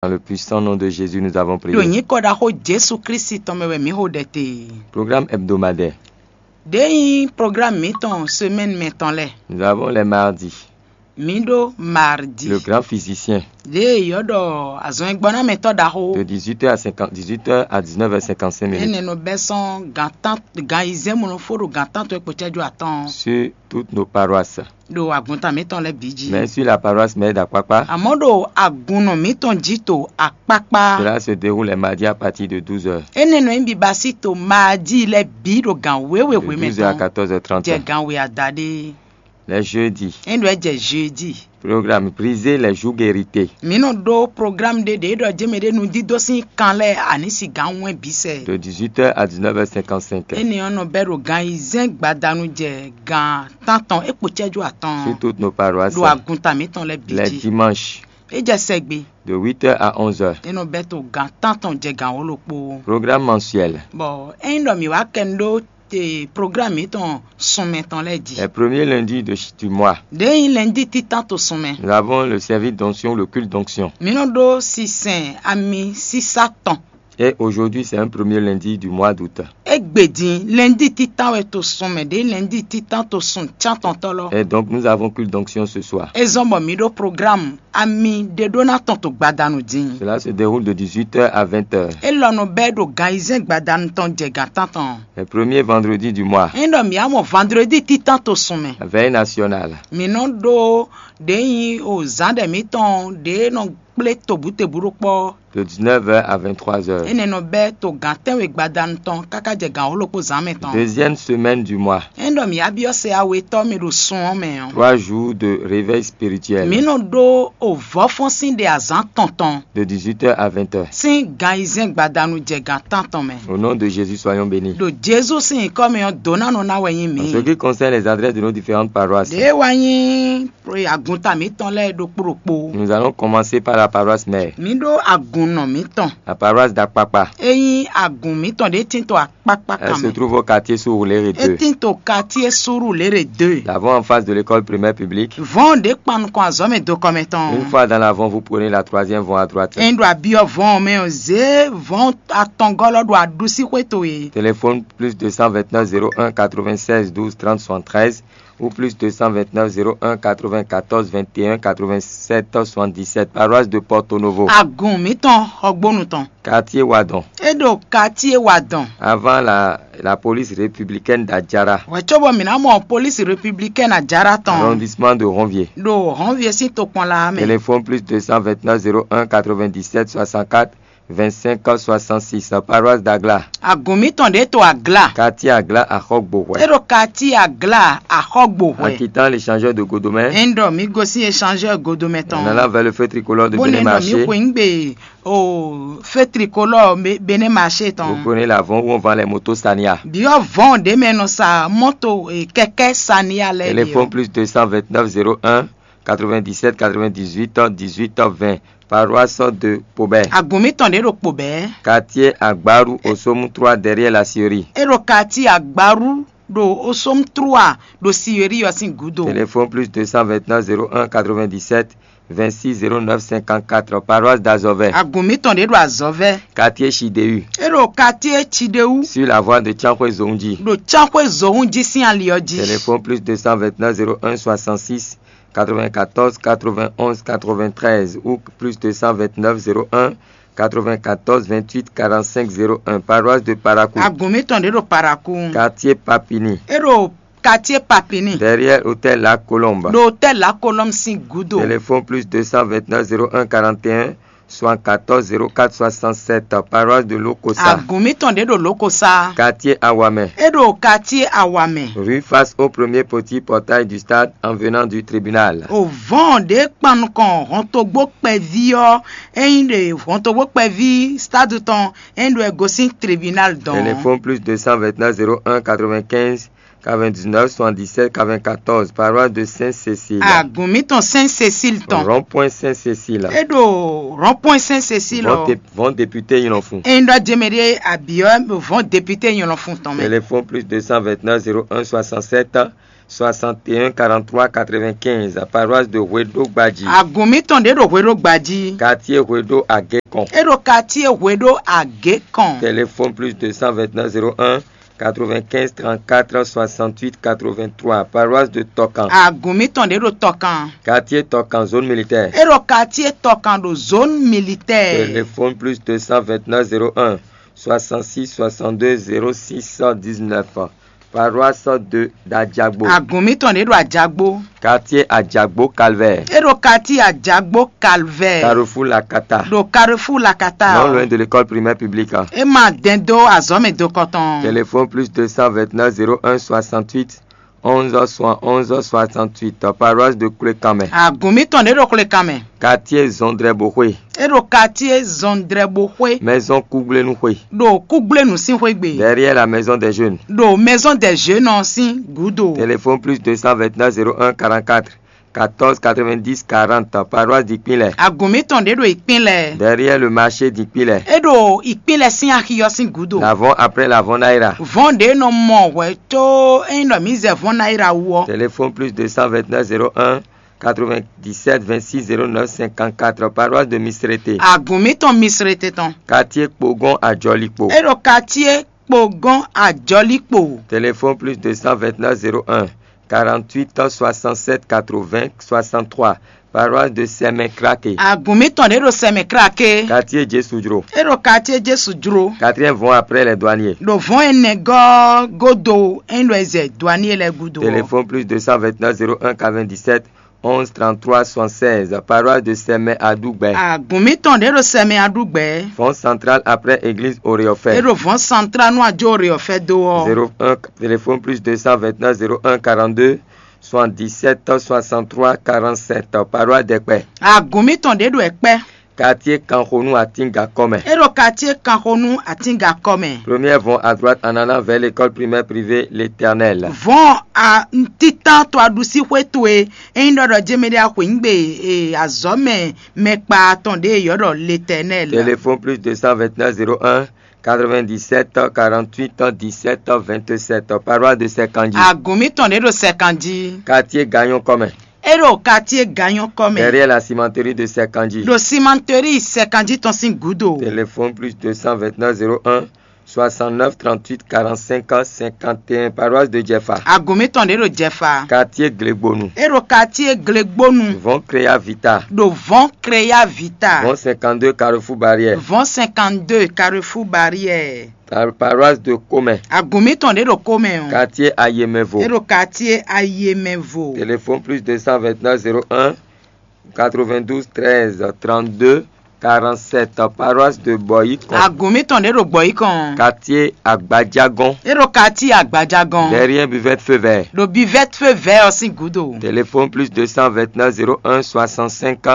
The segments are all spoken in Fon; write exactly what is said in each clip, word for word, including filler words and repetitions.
Dans le puissant nom de Jésus, nous avons prié. Ɖo nyǐkɔ ɖaxó Jesu Klísu tɔn mɛ wɛ mǐ xo ɖɛ te. Programme hebdomadaire. Ɖě nyí programme mǐtɔn semaine mɛ tɔn lɛ́ɛ. Nous avons les mardis. Mǐ ɖó mardi. Le grand physicien. Ɖě yɔ́ ɖɔ azɔngbɔnámɛtɔ́ ɖaxó. De dix-huit heures à cinquante, dix-huit heures à dix-neuf heures cinquante-cinq minutes. Énɛ́ nɔ bɛ́ sɔ́n gan tán gan ayizɛ́n mɔnɔfó ɖo gan tántɔn e kpo cɛ́jú atɔn. Sur toutes nos paroisses. Ɖo agunta mǐtɔn lɛ́ɛ bǐ jí. Mais sur la paroisse mère d'Akpakpa. Àmọ́ ɖo agunnɔ mǐtɔn jí to akpákpá. Cela se déroule les mardis à partir de douze heures. Énɛ́ nɔ nyí bibasí to maadí lɛ́ɛ bǐ ɖo gan wěwe De hwemɛ douze heures à tɔn. Quatorze heures trente. Jɛ gan we adaɖé. Les jeudis. É ɖo ɛ jɛ jeudi. Programme, briser les jougs hérités. Mǐ nɔ ɖó programme ɖé ɖě ɖɔ jɛ́mɛ ɖé nudídó sín kan lɛ́ɛ a ní si gǎn wɛn bǐ sɛ. De dix-huit heures à dix-neuf heures cinquante-cinq. Énɛ́ ɔ́ nɔ bɛ́ ɖo gan ayizɛ́n gbadanu jɛ gan tántɔn é kpo cɛ́jú atɔn. Sur toutes nos paroisses. Ɖo agunta mǐtɔn lɛ́ɛ bǐ Les jí. Dimanches. É jɛ sɛgbe. De huit heures à onze heures. É nɔ bɛ́ to gan tántɔn jɛ gan wǒ ɖokpó. Programme mensuel. Bɔ ényí ɖɔ mǐ wá kɛ nu ɖó te programme mǐtɔn sunmɛ tɔn lɛ́ɛ jí. Les premiers lundis de ch-, du mois. Ɖě nyí lɛndí títán to sunmɛ. Nous avons le service d'onction, le culte d'onction. Mǐ nɔ ɖó sisɛn ami sísá tɔn. Et aujourd'hui, c'est un premier lundi du mois d'août. Égbé din lɛndí títán wɛ to sunmɛ ɖě lɛndí títán to sun cántɔntɔ́ lɔ. Et donc, nous avons culte d'onction ce soir. É zɔ́n bɔ mǐ ɖó programme ami ɖé ɖó ná tɔn to gbadanu din. Cela se déroule de dix-huit heures à vingt heures. É lɔ nɔ bɛ́ ɖo gan ayizɛ́n gbadanu tɔn jɛ gan tántɔn. Le premier vendredi du mois. Ényí ɖɔ mǐ á mɔ vandredi títán to sun mɛ. La veille nationale. Mǐ nɔ ɖó ɖě nyí o zǎn ɖɛ mǐtɔn ɖě nɔ kplé tobǔtebǔ ɖó kpɔ́. De dix-neuf heures à vingt-trois heures. Énɛ́ nɔ bɛ́ to gǎn tɛ́nwe gbadanu tɔn káká jɛ gǎn wǒ ɖokpó zǎn mɛ tɔn. Deuxième semaine du mois. Ényí ɖɔ mǐ á byɔ́ sɛ awetɔ́ mɛ ɖo sun ɔ́ mɛ ɔ́. Trois jours de réveil spirituel. Mǐ nɔ ɖó o vɔ̌fɔ́n sín ɖe azǎn tɔntɔn. De dix-huit heures à vingt heures. Sín gan ayizɛ́n gbadanu jɛ gan tántɔn mɛ. Au nom de Jésus, soyons bénis. Ɖo Jezu sín nyǐkɔ mɛ ɔ́, dǒ ná nɔ ná wɛ nyí mǐ. En ce qui concerne les adresses de nos différentes paroisses, Ɖě wá nyí agunta mǐtɔn lɛ́ɛ ɖokpó ɖokpó. Nous allons commencer par la paroisse mère. Mǐ ɖó agunnɔ mǐtɔn. La paroisse d'Akpakpa. É nyí agun mǐtɔn ɖě tín to akpákpá Elle kan se mɛ. Trouve au quartier Surulere É deux. Tín to quartier Surulere deux. D'abord en face de l'école primaire publique. Vɔ̌n ɖě kpan nukɔn azɔ̌ mɛ do kɔmɛ tɔn. Une fois dans l'avant, vous prenez la troisième voie à droite. Ényí ɖo abyɔ́ vɔ̌n mɛ ɔ́, zě vɔ̌n atɔngɔ́ lɔ ɖo aɖusíxwé towe. Téléphone plus deux cent vingt-neuf zéro un quatre-vingt-seize douze trente soixante-treize ou plus deux cent vingt-neuf zéro un quatre-vingt-quatorze vingt et un quatre-vingt-sept soixante-dix-sept, paroisse de Porto Novo. Agun mǐtɔn xɔgbónu tɔn. Quartier Wadon. É ɖo quartier Wadon. Avant la, la police républicaine d'Adjara. Wɛ cóbɔ mǐ ná mɔ polísi républicaine Adjara tɔn. Arrondissement de Ronvier. Ɖo Ronvier sín tokpɔnla mɛ. Téléphone plus deux cent vingt-neuf zéro un quatre-vingt-dix-sept soixante-quatre vingt-cinq soixante-six, paroisse d'Agla. Agun mǐtɔn ɖě to Agla. Quartier Agla, Axɔgbohwɛ. É ɖo quartier Agla Axɔgbohwɛ. En quittant l'échangeur de Godomè. Ényí ɖɔ mǐ gosín échangeur Godomè tɔn. En allant vers le feu tricolore de Bénin Marché. Bó nɛ́ ɖɔ mǐ xweyǐgbe o feu tricolore Bénin Marché tɔn. Vous prenez l'avant où on vend les motos Sania. Byɔ́ vɔ̌n ɖě mɛ nɔ sa mɔ́to kɛkɛ́ Sania lɛ́ɛ. Téléphone plus deux cent vingt-neuf zéro un quatre-vingt-dix-sept quatre-vingt-dix-huit dix-huit vingt. Paroisse de Pobè. Agun mǐtɔn ɖě ɖo Kpobɛ́. Quartier Agbaru, Osomu trois derrière la scierie. É ɖo quartier Agbaru ɖo Osomu trois ɖo scierie ɔ́ sín gúdo. Téléphone plus deux cent vingt-neuf zéro un quatre-vingt-dix-sept vingt-six zéro neuf cinquante-quatre, paroisse d'Azɔvɛ. Agun mǐtɔn ɖě ɖo Azɔvɛ. Quartier Chideu. É ɖo quartier Chideu. Sur la voie de Tianxwe Zohunji. Ɖo Tianxwe Zohunji sín ali ɔ́ jí. Téléphone plus deux cent vingt-neuf zéro un soixante-six quatre-vingt-quatorze quatre-vingt-onze quatre-vingt-treize ou plus deux cent vingt-neuf zéro un quatre-vingt-quatorze vingt-huit quarante-cinq zéro un, paroisse de Parakou. Agun mǐtɔn ɖě ɖo Parakou. Quartier Papini. É ɖo quartier Papini. Derrière hôtel La Colombe. Ɖo hôtel La Colombe sín gúdo. Téléphone plus deux cent vingt-neuf zéro un quarante et un soixante-quatorze zéro quatre soixante-sept, paroisse de Lokosa. Agun mǐtɔn ɖě ɖo Lokosa. Quartier Awamɛ. É ɖo quartier Awamɛ. Rue face au premier petit portail du stade en venant du tribunal. O vɔ̌n ɖě kpan nukɔn hɔntogbó kpɛví ɔ́, ényí ɖe hɔntogbó kpɛví stade tɔn ényí ɖo ɛ gosín tribunal dɔn. Téléphone plus deux cent vingt-neuf zéro un quatre-vingt-quinze quatre-vingt-dix-neuf soixante-dix-sept quatre-vingt-quatorze, paroisse de Sainte-Cécile. Agun mǐtɔn Sainte-Cécile tɔn. Rond-point Sainte-Cécile. É ɖo rond-point Sainte-Cécile. Vɔn ɔ. Dé-, vɔn député Nyɔnɔfun. Ényí ɖɔ jɛmɛ ɖé abyɔ́ vɔn député Nyɔnɔfun tɔn mɛ. Téléphone plus deux cent vingt-neuf zéro un soixante-sept soixante et un quarante-trois quatre-vingt-quinze, paroisse de Hweɖo Gbadji. Agun mǐtɔn ɖě ɖo Hweɖo Gbadji. Quartier Hweɖo Agékɔn. É ɖo quartier Hweɖo Agékɔn. Téléphone plus deux cent vingt-neuf zéro un quatre-vingt-quinze trente-quatre soixante-huit quatre-vingt-trois, paroisse de Tɔkan. Agun mǐtɔn ɖě ɖo Tɔkan. Quartier Tɔkan, zone militaire. É ɖo quartier Tɔkan ɖo zone militaire. Téléphone plus deux cent vingt-neuf zéro un soixante-six soixante-deux zéro six dix-neuf. Paroisse de d'Adjagbo. Agun mǐtɔn ɖě ɖo Ajagbo. Quartier Adjagbo Calvaire. É ɖo quartier Ajagbo Calvaire. Carrefour Lakata. Ɖo Carrefour Lakata. Non loin de l'école primaire publique. É ma dɛn dó azɔ̌ mɛ dokɔtɔn. Téléphone plus deux cent vingt-neuf zéro un soixante-huit onze soixante-onze soixante-huit, paroisse de Klékamɛ. Agun mǐtɔn ɖě ɖo Klékamɛ. Quartier Zɔndrɛboxwe. É ɖo quartier Zɔndrɛboxwe. Maison Kúgblénuxwe. Ɖo Kúgblénu sín xwé gbe. Derrière la maison des jeunes. Ɖo maison des jeunes ɔ́ sín gǔdo. Téléphone plus deux cent vingt-neuf zéro un quarante-quatre quatorze quatre-vingt-dix quarante, paroisse d'Ikpínlɛ. Agun mǐtɔn ɖě ɖo Ikpínlɛ. Derrière le marché d'Ikpínlɛ. É ɖo Ikpínlɛ sín axi ɔ́ sín gǔdo. L'avant après l'avant Naira. Vɔ̌n ɖě nɔ mɔ hwɛ có é nyí ɖɔ mǐ zɛ vɔ̌n Naira wú ɔ́. Téléphone plus deux cent vingt-neuf zéro un quatre-vingt-dix-sept vingt-six zéro neuf cinquante-quatre, paroisse de Misrete. Agun mǐtɔn Misrete tɔn. Quartier Kpogɔn Ajɔlikpo. É ɖo quartier Kpogɔn Ajɔlikpo. Téléphone plus deux cent vingt-neuf zéro un quarante-huit soixante-sept quatre-vingts soixante-trois, paroisse de Sɛmɛ Krake. Agun mǐtɔn ɖě ɖo Sɛmɛ Krake. Quartier Jésù Jro. É ɖo quartier Jésù Jro. Quatrième vɔ̌n après les douaniers. Ɖo vɔ̌n énɛ́ gɔ́ gúdo é nyí ɖɔ è zɛ douanier lɛ́ɛ gúdo ɔ́. Téléphone plus deux cent vingt-neuf zéro un quatre-vingt-dix-sept onze trente-trois soixante-seize, paroisse de Sɛmɛ Aɖugbɛ. Agun mǐtɔn ɖě ɖo Sɛmɛ Aɖugbɛ. Vɔ̌n central après église Oreɔfɛ. É ɖo vɔ̌n central nú ajó Oreɔfɛ dó ɔ́. Zéro un, téléphone plus deux cent vingt-neuf zéro un quarante-deux soixante-dix-sept soixante-trois quarante-sept, paroisse d'Ɛkpɛ. Agun mǐtɔn ɖě ɖo Ɛkpɛ. Quartier Kanxonú Atíngakɔ mɛ. É ɖo quartier Kanxonú Atíngakɔ mɛ. Première vɔn à droite en allant vers l'école primaire privée L'Éternel. Vɔn a tíntán to aɖusíxwé towe é nyí ɖɔ ɖɔ jɛmɛ ɖé axwǐngbe e azɔ̌ mɛ mɛkpa tɔn ɖě e yɔ̌ ɖɔ L'Éternel. Téléphone plus deux cent vingt-neuf zéro un quatre-vingt-dix-sept quarante-huit dix-sept vingt-sept, paroisse de Sɛkanji. Agun mǐtɔn ɖě ɖo Sɛkanji. Quartier Gagnon kɔ mɛ. É ɖo quartier Gagnon kɔ mɛ. Derrière la cimenterie de Sɛkanji. Ɖo cimenterie Sɛkanji tɔn sín gǔdo. Téléphone plus deux cent vingt-neuf zéro un soixante-neuf trente-huit quarante-cinq cinquante et un, paroisse de Jɛfa. Agun mǐtɔn ɖě ɖo Jɛfa. Quartier Glegbonu. É ɖo quartier Glegbonu. Vɔn Créa Vita. Ɖo vɔn Créa Vita. Vɔn cinquante-deux Carrefour Barrière. Vɔn cinquante-deux Carrefour Barrière. Par-, paroisse de Komɛ. Agun mǐtɔn ɖě ɖo Komɛ ɔ́. Quartier Ayemɛvo. É ɖo quartier Ayemɛvo. Téléphone plus deux cent vingt-neuf zéro un quatre-vingt-douze treize trente-deux quarante-sept, paroisse de Bɔyikɔn. Agun mǐtɔn ɖě ɖo Gbɔyikɔn. Quartier Agbajagɔn. É ɖo quartier Agbajagɔn. Derrière buvette feu vert. Ɖo buvette feu vert ɔ́ sín gǔdo. Téléphone plus deux cent vingt-neuf zéro un soixante-cinq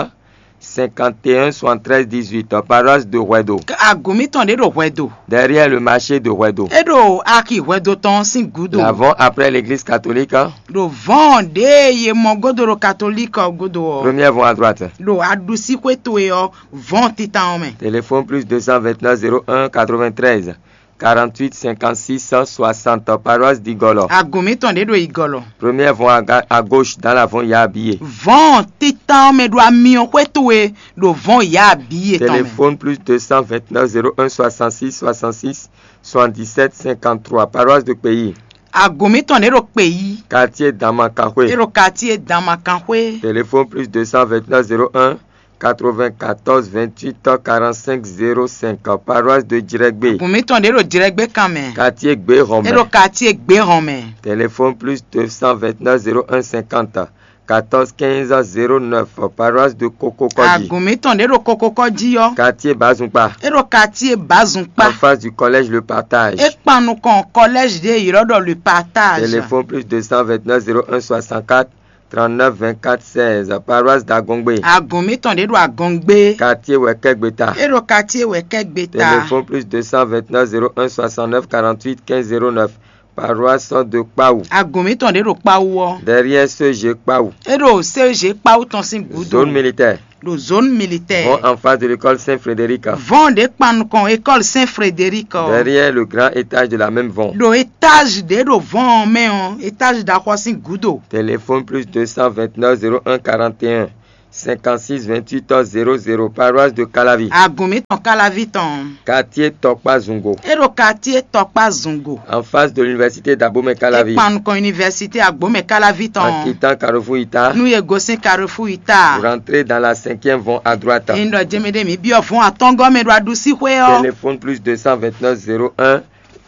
cinquante et un soixante-treize dix-huit, paroisse de Hwɛdo. Agun mǐtɔn ɖě ɖo Hwɛdo. Derrière le marché de Hwɛdo. É ɖo axi Hwɛdo tɔn sín gǔdo. L'avant après l'église catholique. Ɖo vɔn ɖě ye mɔ gúdo ɖo katolík ɔ́ gúdo ɔ́. Première vɔn à droite. Ɖo aɖusíxwé towe ɔ́ vɔn títan ɔ́ mɛ. Téléphone plus deux cent vingt-neuf zéro un quatre-vingt-treize quarante-huit cinquante-six soixante, paroisse d'Igɔlɔ. Agun mǐtɔn ɖě ɖo Igɔlɔ. Première vɔn à ga-, à gauche dans la vɔn Yabiye. Vɔn títan ɔ́ mɛ ɖo amyɔxwé towe ɖo vɔn Yabiye tɔn mɛ. Téléphone plus deux cent vingt-neuf zéro un soixante-six soixante-six soixante-dix-sept cinquante-trois, paroisse de Pays. Agun mǐtɔn ɖě ɖo Kpeyi. Quartier Damakanxwé. É ɖo quartier Damakanxwé. Téléphone plus deux cent vingt-neuf zéro un quatre-vingt-quatorze vingt-huit quarante-cinq zéro cinq, paroisse de Jirɛgbé. Agun mǐtɔn ɖě ɖo Jirɛgbé kan mɛ. Quartier Gbéhɔnmɛ. É ɖo quartier Gbéhɔnmɛ. Téléphone plus deux cent vingt-neuf zéro un cinquante quatorze quinze zéro neuf, paroisse de Kokokɔji. Agun mǐtɔn ɖě ɖo Kokokɔji ɔ́. Quartier Bazunkpa. É ɖo quartier Bazunkpa. En face du collège Le Partage. É kpan nukɔn collège ɖě ylɔ́ ɖɔ Le Partage. Téléphone plus deux cent vingt-neuf zéro un soixante-quatre trente-neuf vingt-quatre seize, paroisse d'Agongbe. Agun mǐtɔn ɖě ɖo Agongbe. Quartier Wɛkɛgbeta. É ɖo quartier Wɛkɛgbeta. Téléphone plus deux cent vingt-neuf zéro un soixante-neuf quarante-huit quinze zéro neuf, paroisse de Kpawu. Agun mǐtɔn ɖě ɖo Kpawu ɔ́. Derrière C G Kpawu. É ɖo C G Kpawu tɔn sín gǔdo. Zone militaire. ɖo zone militaire. Vont en face de l'école Saint-Frédéric. Vɔn ɖě kpan nukɔn école Saint Frédéric ɔ. Derrière le grand étage de la même vont. Ɖo étage ɖě ɖo vɔn ɔ mɛ ɔ, étage ɖaxɔ sín gǔdo. Téléphone plus deux cent vingt-neuf zéro un quarante et un cinquante-six vingt-huit zéro zéro, paroisse de Calavi. Agun mǐtɔn Calavi tɔn. Quartier Tɔkpa Zungo. E ɖo quartier Tɔkpa Zungo. En face de l'université d'Abomey Calavi. E kpan nukɔn université Agbomey Calavi tɔn. En quittant Carrefour Ita. Nú e gosín Carrefour Ita. Vous rentrez dans la cinquième vont à droite. E ɖɔ jɛmɛ ɖe mǐ byɔ́ vɔn atɔngɔ́ mɛ ɖo aɖusíxwé ɔ́. Téléphone plus deux cent vingt-neuf zéro un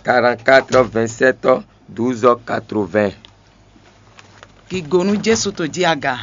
quarante-quatre vingt-sept douze quatre-vingts. Gigo nú Jesu to jí aga.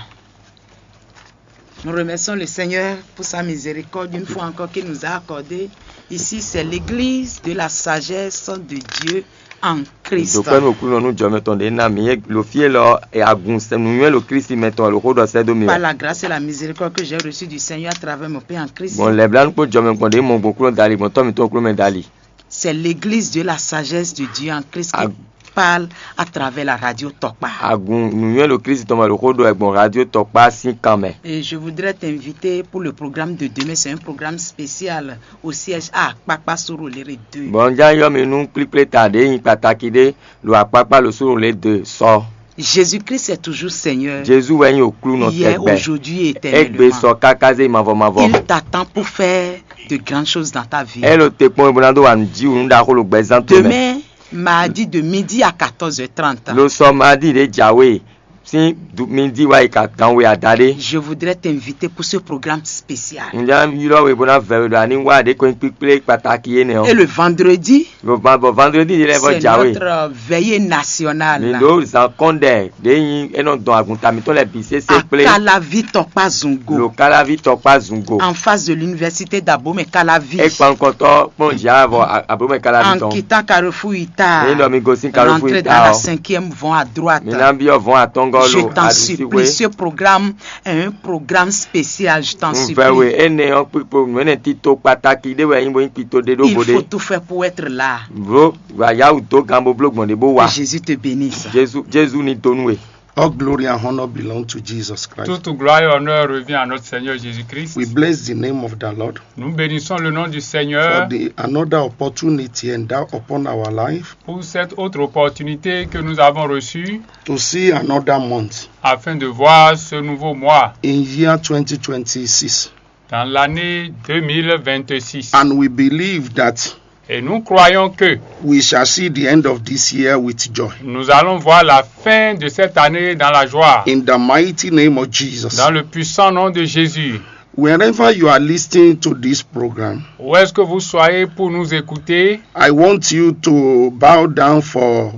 Nous remercions le Seigneur pour sa miséricorde une fois encore qu'il nous a accordé. Ici, c'est l'église de la sagesse de Dieu en Christ. Dǒkpɛ́ nú Aklúnɔ nú jɔmɛ tɔn ɖě ná mǐ é lo fí élɔ́ agun nǔnywɛ́ ɖo Klísu mɛ tɔn wɛ ɖo xó ɖɔ sɛ́ dó mì. Par la grâce et la miséricorde que j'ai reçue du Seigneur à travers mon Père en Christ. Gbɔn lɛ̌blánú kpó jɔmɛ gbɔn ɖě mɔ gbɔn Aklúnɔ dali, gbɔn tɔ́ mǐtɔn Aklúnɔ mɛ dali. C'est l'église de la sagesse de Dieu en Christ qui parle à travers la radio Tɔkpa. Agun nǔnywɛ́ ɖo Klísu tɔn mɛ ɖo xó ɖɔ wɛ gbɔn radio Tɔkpa sín kan mɛ. Et je voudrais t'inviter pour le programme de demain. C'est un programme spécial au siège à Akpakpa Sorolere deux. Bɔn un já yɔ mi nú kplíkplé ta ɖě nyí kpataki ɖé ɖo Akpakpa ɖo Sorolere deux sɔ. Jésus-Christ est toujours Seigneur. Jezu wɛ nyí Aklúnɔ tɛgbɛ. Hier, aujourd'hui et éternellement. Égbé sɔ káká zé mavɔ mavɔ. Il t'attend pour faire de grandes choses dans ta vie. É ɖo te kpɔ́n bó ná dó wa nǔ jí wǔ nú ɖaxó ɖo gbɛzán towe mɛ. Demain, mardi de midi à quatorze heures trente. Lo sɔ mardi ɖě jǎwe sín midi wá yi ka gan we adaɖé. Je voudrais t'inviter pour ce programme spécial. Un já ylɔ́ we bó ná vɛ we ɖɔ a ní wá ɖě ko nyí kpíkplé kpataki énɛ́ ɔ́. Et le vendredi, Bɔ vendredi ɖě lɛ́ɛ vɔ jǎwe. C'est notre veillée nationale. Mi ɖo zǎn kɔn ɖɛ ɖě nyí é nɔ dɔn agunta mǐtɔn lɛ́ɛ bǐ sésé kplé. Akalavi Tɔkpa Zungo. Lo Kalavi Tɔkpa Zungo. En face de l'université d'Abomey Calavi. É kpan nukɔntɔ kpɔn jǎ vɔ Abomey Calavi tɔn. En quittant Carrefour Ita. Ní ɖɔ mi gosín Carrefour Ita ɔ. Rentrer dans la cinquième vont à droite. Mi ná byɔ́ vɔn atɔngɔ́ lo aɖusíxwé. Je t'en supplie, ce programme est un programme spécial, je t'en supplie. Un vɛ we énɛ́ ɔ́ kpikpo nǔ énɛ́ tito kpataki ɖé wɛ nyí bo nyí tito ɖé ɖó vodé. Il faut tout faire pour être là. Blo wǎ yá wǔ dó gan bó bló gbɔn ɖě bó wá. Que Jésus te bénisse. Jezu Jezu ní dó nú we. All glory and honor belong to Jesus Christ. Toute gloire et honneur revient à notre Seigneur Jésus-Christ. We bless the name of the Lord. Nous bénissons le nom du Seigneur. For the another opportunity endowed upon our life. Pour cette autre opportunité que nous avons reçue. To see another month. Afin de voir ce nouveau mois. In year twenty twenty-six. Dans l'année deux mille vingt-six. And we believe that Et nous croyons que we shall see the end of this year with joy. Nous allons voir la fin de cette année dans la joie. In the mighty name of Jesus. Dans le puissant nom de Jésus. Wherever you are listening to this program, où est-ce que vous soyez pour nous écouter, I want you to bow down for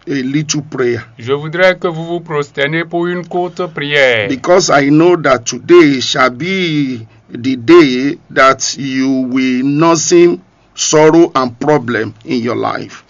a little prayer. Je voudrais que vous vous prosternez pour une courte prière. Because I know that today shall be the day that you will not see sorrow and problem in your life.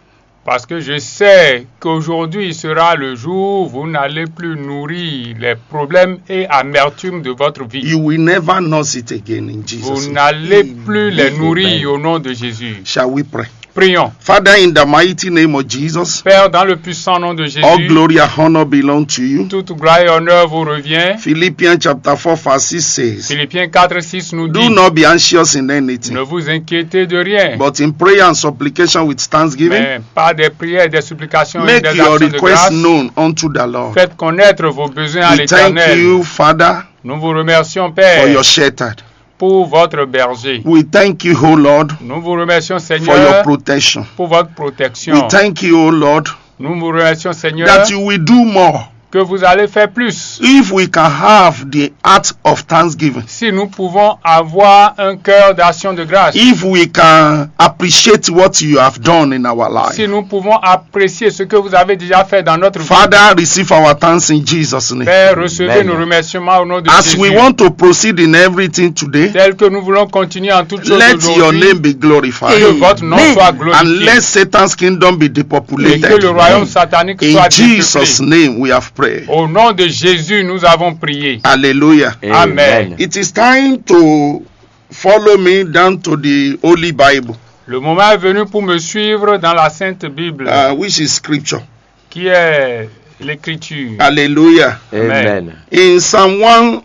Parce que je sais qu'aujourd'hui sera le jour où vous n'allez plus nourrir les problèmes et amertume de votre vie. You will never nurse it again in Jesus' name. Vous n'allez plus les nourrir au nom de Jésus. Shall we pray? Prions. Father, in the mighty name of Jesus, Père, dans le puissant nom de Jésus, all glory and honor belong to you. Toute gloire et honneur vous revient. Philippians chapter four verse six says, Philippiens quatre six nous dit, Do not be anxious in anything, ne vous inquiétez de rien, but in prayer and supplication with thanksgiving, mais par des prières et des supplications et des actions de grâce, make your requests known unto the Lord. Faites connaître vos besoins à l'Éternel. We thank you, Father, nous vous remercions, Père, for your shepherd. Pour votre berger. We thank you, O Lord, nous vous remercions, Seigneur, for your protection. Pour votre protection. We thank you, O Lord, nous vous remercions, Seigneur, that you will do more. Que vous allez faire plus. If we can have the heart of thanksgiving, si nous pouvons avoir un cœur d'action de grâce, if we can appreciate what you have done in our life, si nous pouvons apprécier ce que vous avez déjà fait dans notre vie, Father, receive our thanks in Jesus' name. Père, recevez nos remerciements au nom de Jésus. As we want to proceed in everything today, tel que nous voulons continuer en toutes choses aujourd'hui, let your name be glorified. Que votre nom soit glorifié. And let Satan's kingdom be depopulated. Et que le royaume satanique soit dépeuplé. In Jesus' name we have prayed. Au nom de Jésus, nous avons prié. Hallelujah. Amen. It is time to follow me down to the Holy Bible. Le moment est venu pour me suivre dans la Sainte Bible, uh, which is scripture, qui est L'écriture. Hallelujah. Amen. In Psalm one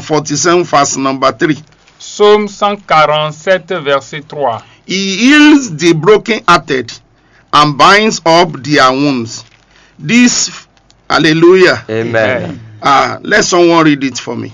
forty-seven, verse number three, Psaume cent quarante-sept, verset trois. He heals the brokenhearted and binds up their wounds. This, hallelujah. Amen. Ah, let someone read it for me.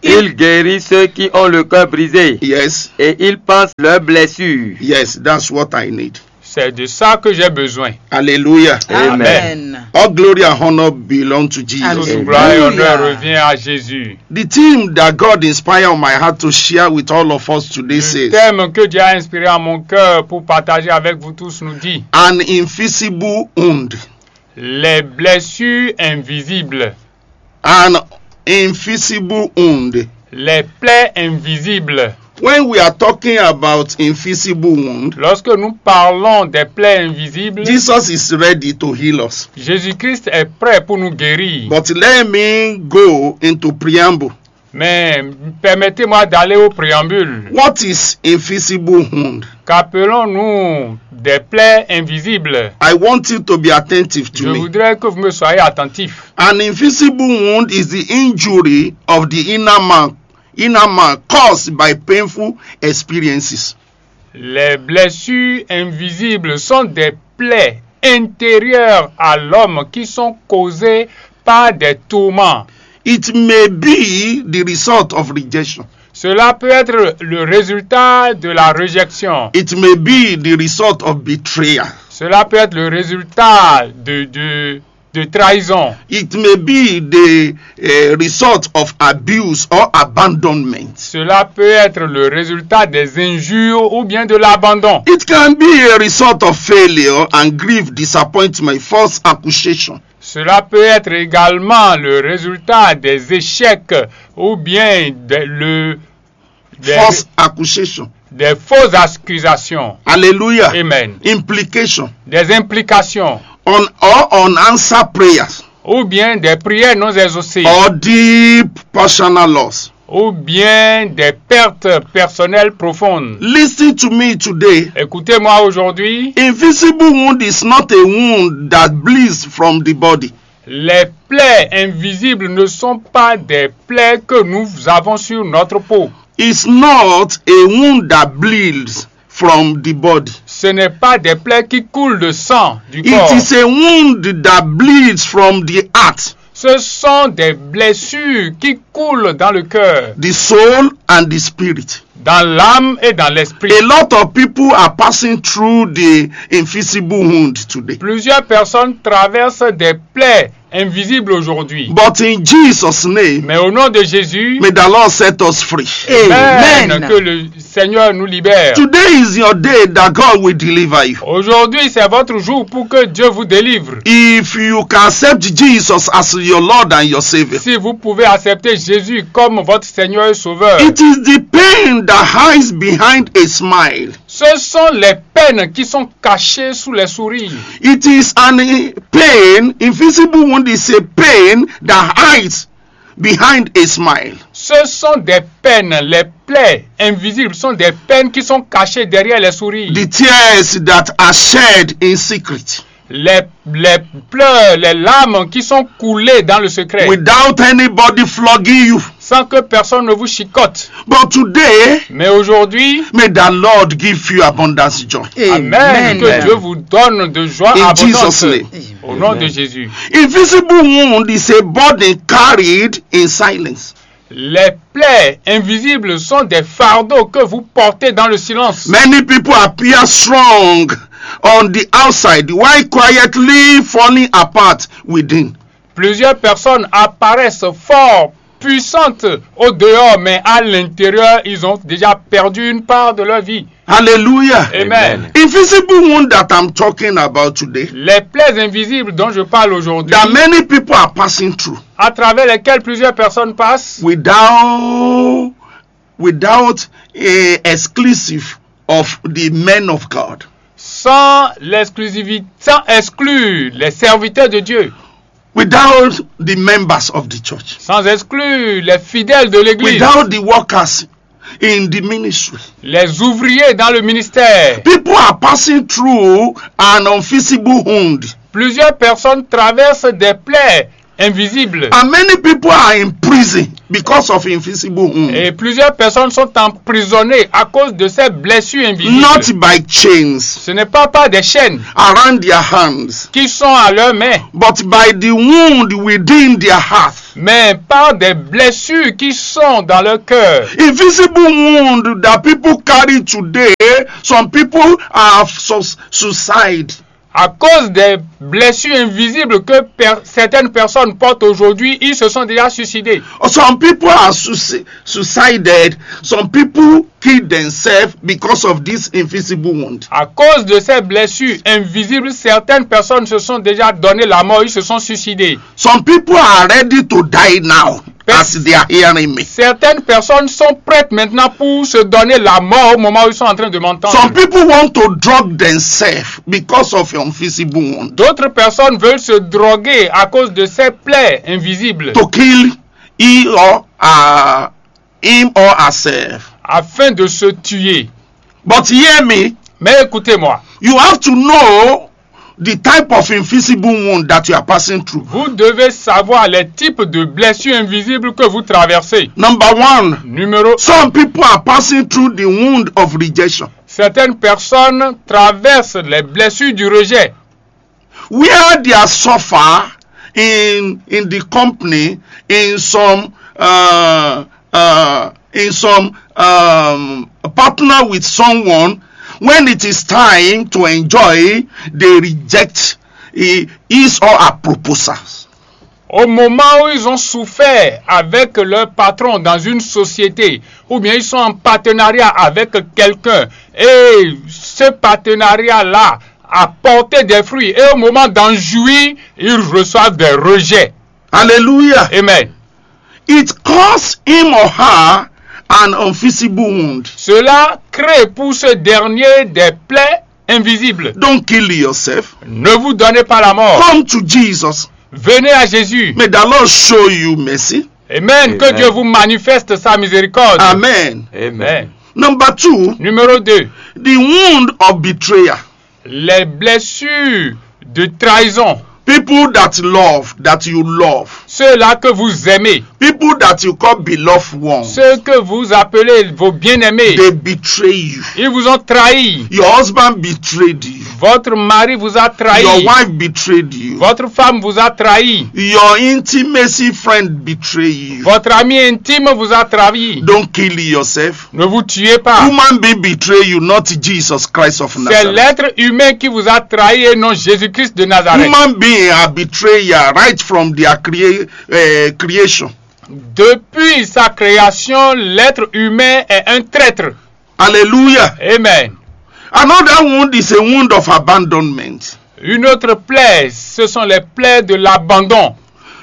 Il guérit ceux qui ont le cœur brisé Yes, et il panse leurs blessures. Yes, that's what I need. C'est de ça que j'ai besoin. Hallelujah. Amen. All glory and honor belong to Jesus. Toute Hallelujah. Gloire et honneur revient à Jésus. The theme that God inspired my heart to share with all of us today Le says, thème que Dieu a inspiré à mon cœur pour partager avec vous tous nous dit, an invisible wound. les blessures invisibles. An invisible wound. Les plaies invisibles. When we are talking about invisible wound, Lorsque nous parlons des plaies invisibles, Jesus is ready to heal us. Jésus-Christ est prêt pour nous guérir. But let me go into preamble. Mais permettez-moi d'aller au préambule. What is invisible wound? Qu'appelons-nous des plaies invisibles? I want you to be attentive to Je me. Voudrais que vous me soyez attentifs. An invisible wound is the injury of the inner man, inner man caused by painful experiences. Les blessures invisibles sont des plaies intérieures à l'homme qui sont causées par des tourments. It may be the result of rejection. Cela peut être le résultat de la réjection. It may be the result of betrayal. Cela peut être le résultat de, de, de trahison. It may be the uh, result of abuse or abandonment. Cela peut être le résultat des injures ou bien de l'abandon. It can be a result of failure and grief, disappointment, false accusation. Cela peut être également le résultat des échecs ou bien de- le, des, False accusation. Des fausses accusations. Hallelujah. Amen. Implication. Des implications. On or unanswered prayers. Ou bien des prières non exaucées. Or deep personal loss. Ou bien des pertes personnelles profondes. Listen to me today. Écoutez-moi aujourd'hui. Invisible wound is not a wound that bleeds from the body. Les plaies invisibles ne sont pas des plaies que nous avons sur notre peau. It's not a wound that bleeds from the body. Ce n'est pas des plaies qui coulent de sang du It corps. Is a wound that bleeds from the heart, Ce sont des blessures qui coulent dans le cœur, the soul, and the spirit. Dans l'âme et dans l'esprit. A lot of people are passing through the invisible wound today. Plusieurs personnes traversent des plaies invisibles aujourd'hui. But in Jesus' name, Mais au nom de Jésus, may the Lord set us free. Amen, Amen. Que le Seigneur nous libère. Today is your day that God will deliver you. Aujourd'hui, c'est votre jour pour que Dieu vous délivre. If you can accept Jesus as your Lord and your Savior, Si vous pouvez accepter Jésus comme votre Seigneur et Sauveur, it is the pain that hides behind a smile. Ce sont les peines qui sont cachées sous les sourires. It is an pain, invisible wound is a pain that hides behind a smile. Ce sont des peines, les plaies invisibles sont des peines qui sont cachées derrière les sourires. The tears that are shed in secret. Les, les pleurs, les larmes qui sont coulées dans le secret, Without anybody flogging you. Sans que personne ne vous chicote. But today, Mais aujourd'hui, may the Lord give you abundance joy. Amen, que Dieu vous donne de joie In abondante. Jesus' name. Au nom de Jésus. Invisible wound is a burden carried in silence. Les plaies invisibles sont des fardeaux que vous portez dans le silence. Many people appear strong on the outside while quietly falling apart within. Plusieurs personnes apparaissent fort puissantes au dehors, mais à l'intérieur, ils ont déjà perdu une part de leur vie. Hallelujah. Amen. Invisible wound that I'm talking about today. Les plaies invisibles dont je parle aujourd'hui, That many people are passing through à travers lesquelles plusieurs personnes passent, without without a exclusive of the men of God, sans l'exclusivité, sans exclure les serviteurs de Dieu, without the members of the church, sans exclure les fidèles de l'Église, without the workers in the ministry. Les ouvriers dans le ministère. People are passing through an invisible wound. Plusieurs personnes traversent des plaies invisibles. And many people are in prison because of invisible wound. Et plusieurs personnes sont emprisonnées à cause de ces blessures invisibles. Not by chains Ce n'est pas par des chaînes around their hands, qui sont à leurs mains, but by the wound within their heart. Mais par des blessures qui sont dans leur cœur. Invisible wound that people carry today, some people have sus- suicide. À cause des blessures invisibles que per- certaines personnes portent aujourd'hui, ils se sont déjà suicidés. Some people are suici- suicided. Some people kill themselves because of this invisible wound. À cause de ces blessures invisibles, certaines personnes se sont déjà donné la mort, ils se sont suicidés. Some people are ready to die now as they are hearing me. Certaines personnes sont prêtes maintenant pour se donner la mort au moment où ils sont en train de m'entendre. Some people want to drug themselves because of invisible wound. D'autres personnes veulent se droguer à cause de ces plaies invisibles To kill he or uh, him or herself. Afin de se tuer. But hear me, Mais écoutez-moi, you have to know the type of invisible wound that you are passing through. Vous devez savoir les types de blessures invisibles que vous traversez. Number one, Numéro some people are passing through the wound of rejection. Certaines personnes traversent les blessures du rejet. Where they are suffer in in the company, in some uh, uh, in some um, partner with someone, when it is time to enjoy, they reject hi- his or her proposals. Au moment où ils ont souffert avec leur patron dans une société, ou bien ils sont en partenariat avec quelqu'un, et ce partenariat-là a porté des fruits, et au moment d'en jouir, ils reçoivent des rejets. Hallelujah. Amen. It causes him or her an invisible wound. Cela crée pour ce dernier des plaies invisibles. Don't kill yourself. Ne vous donnez pas la mort. Come to Jesus. Venez à Jésus. May the Lord show you mercy. Amen. Que Amen. Dieu vous manifeste sa miséricorde. Amen. Amen. Number two, Numéro deux, the wound of betrayal. Les blessures de trahison. People that love, that you love, Ceux-là que vous aimez, people that you call beloved ones, ceux que vous appelez vos bien-aimés, they betray you. Ils vous ont trahi. Your husband betrayed you. Votre mari vous a trahi. Your wife betrayed you. Votre femme vous a trahi. Your intimacy friend betrayed you. Votre ami intime vous a trahi. Don't kill yourself. Ne vous tuez pas. Human being betray you, not Jesus Christ of C'est Nazareth. L'être humain qui vous a trahi et non Jésus-Christ de Nazareth. Human being are betrayal right from their crea- uh, creation. Depuis sa création, l'être humain est un traître. Hallelujah. Amen. Another wound is a wound of abandonment. Une autre plaie, ce sont les plaies de l'abandon.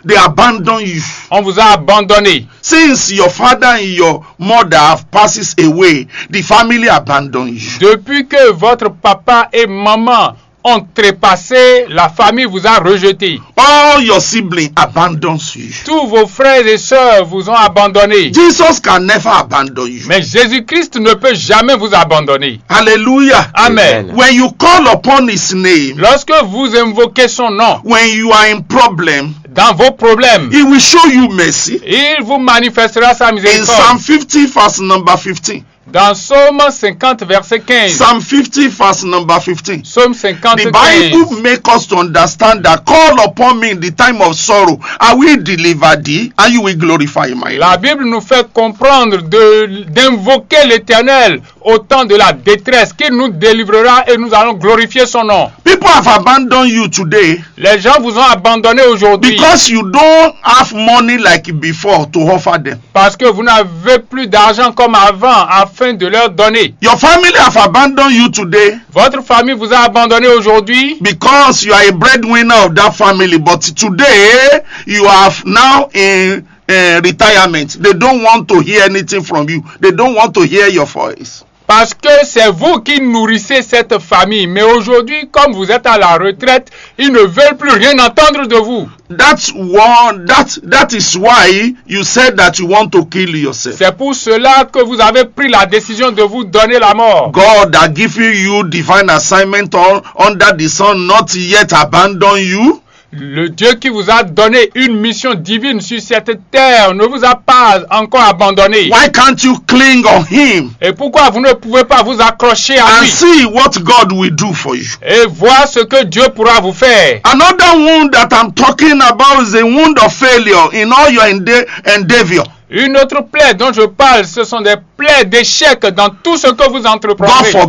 They abandon you. On vous a abandonné. Since your father and your mother have passed away, the family abandon you. Depuis que votre papa et maman ont trépassé, la famille vous a rejeté. All your siblings abandons you. Tous vos frères et sœurs vous ont abandonné. Jesus can never abandon you. Mais Jésus-Christ ne peut jamais vous abandonner. Hallelujah. Amen. Amen. When you call upon his name, Lorsque vous invoquez son nom when you are in problem, dans vos problèmes, he will show you mercy. Il vous manifestera sa In miséricorde. Psalm fifty, verse number fifteen. Dans Psaume cinquante, verset quinze. Psalm fifty, verse number fifteen. Psaume The cinquante, Bible quinze. makes us to understand that call upon me in the time of sorrow. I will deliver thee and you will glorify my La name. Bible nous fait comprendre de- d'invoquer l'Éternel au temps de la détresse, qu'il nous délivrera et nous allons glorifier son nom. People have abandoned you today Les gens vous ont abandonné aujourd'hui because you don't have money like before to offer them. Parce que vous n'avez plus d'argent comme avant afin de leur donner. Your family have abandoned you today Votre famille vous a abandonné aujourd'hui because you are a breadwinner of that family, but today you are now in uh, retirement. They don't want to hear anything from you. They don't want to hear your voice. Parce que c'est vous qui nourrissez cette famille. Mais aujourd'hui, comme vous êtes à la retraite, ils ne veulent plus rien entendre de vous. That's why that that is why you said that you want to kill yourself. C'est pour cela que vous avez pris la décision de vous donner la mort. God had given you divine assignment on, under the sun, not yet abandon you. Le Dieu qui vous a donné une mission divine sur cette terre ne vous a pas encore abandonné. Why can't you cling on him Et pourquoi vous ne pouvez pas vous accrocher à and lui see what God will do for you? et voir ce que Dieu pourra vous faire? Another wound that I'm talking about is a wound of failure in all your ende- endeavor. Une autre plaie dont je parle, ce sont des plaies d'échec dans tout ce que vous God entreprendrez.